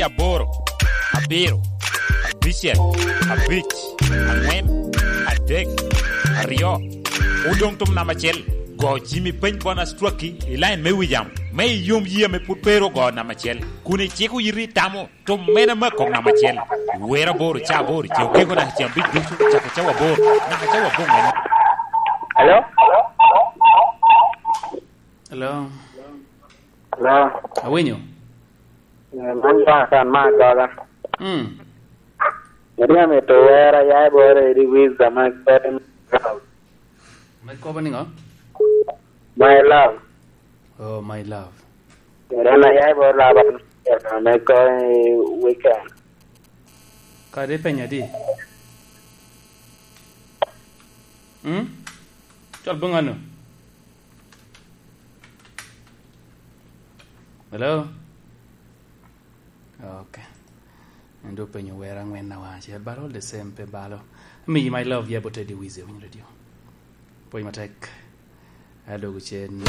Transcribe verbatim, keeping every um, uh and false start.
Aboro, abiro, abicel, abic, angwen, adek, aryo. Odoŋ tum namba acel. Go Jimmy Peny Bonus Twaki i line me wijam, me iyom yie ame pwod pe ru ogo namba acel, kun iciko yiti itamo tum mene me kok namba acel. Wero aboro, ca aboro, ce okeko naka ce abic ducu, cako cawa aboro, naka cawa aboŋwen. Hello? Hello? Hello? Awinyo? Eh, man Jonathan me Agoga. Mm. Eri amito wer aya i bor edi Wiza me Golden Girl. Me kobo niŋo? My Love. Oh, My Love. Eri an aya i bor Laban me Golden Weekend. Kadi ipenyo adi? Mm? Col boŋ anu? Hello? Ok. En dok penyo wer angwen na wan acel, but all the same pe balo. Amiyi My Love, yeah, but Eddie Wizzy, Winyo Radio. Pwony matek. Adogo cen.